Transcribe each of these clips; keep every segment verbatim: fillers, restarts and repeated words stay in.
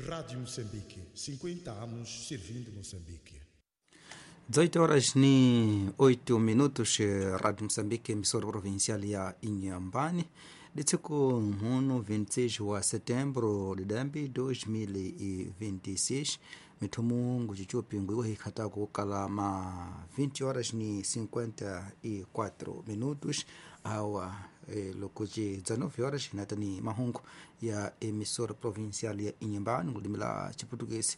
Rádio Moçambique, cinquenta anos servindo Moçambique. dezoito horas ni oito minutos, Rádio Moçambique, emissora provincial ya Inhambane. Ditsiko mhuno vinte e seis wa setembro de dambi dois mil e vinte e seis, mithumu nguchichupi nguiwa hikhatako kukala ma vinte horas ni cinquenta e quatro minutos, awa eh, lokuji dezenove horas hinatani mahungu ya emissora provincial ya Inhambane ngulimila chiputukesi.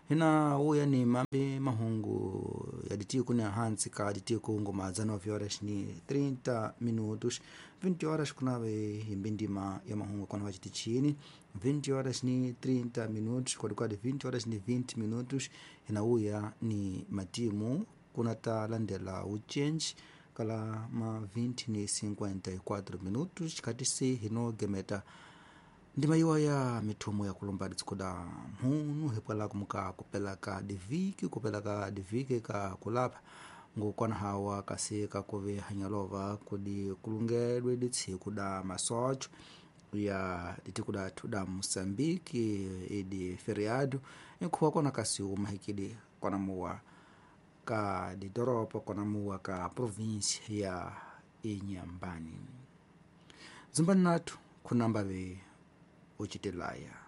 Hina uya ni mambe mahungu yaditiku ni hansi ka ditiku ngoma dezenove horas ni trinta minutos, vinte horas kunave imbindima ya mahungu kona wachitichini, vinte horas ni trinta minutos, kwadikwadi vinte horas ni vinte minutos. Hina uya ni matimu kunata landela uchenji kala ma vinte ni cinquenta e quatro minutos katisi hino gemeta ndima iwa ya mithumo ya kulomba ditsikuda mhunu hipwala kumuka kupelaka diviki kupelaka diviki ka kulapha ngukwana hawa kasi kakuve hanyalova kudi kulungedwe ditsiku da masocho ya ditikuda tuda Moçambique idi feriado ikhuwa kona kasi umahikidi kona muwa ka didoropo kona muwa ka província ya Inhambane. Zumbani nathu khunambave ucitelaya.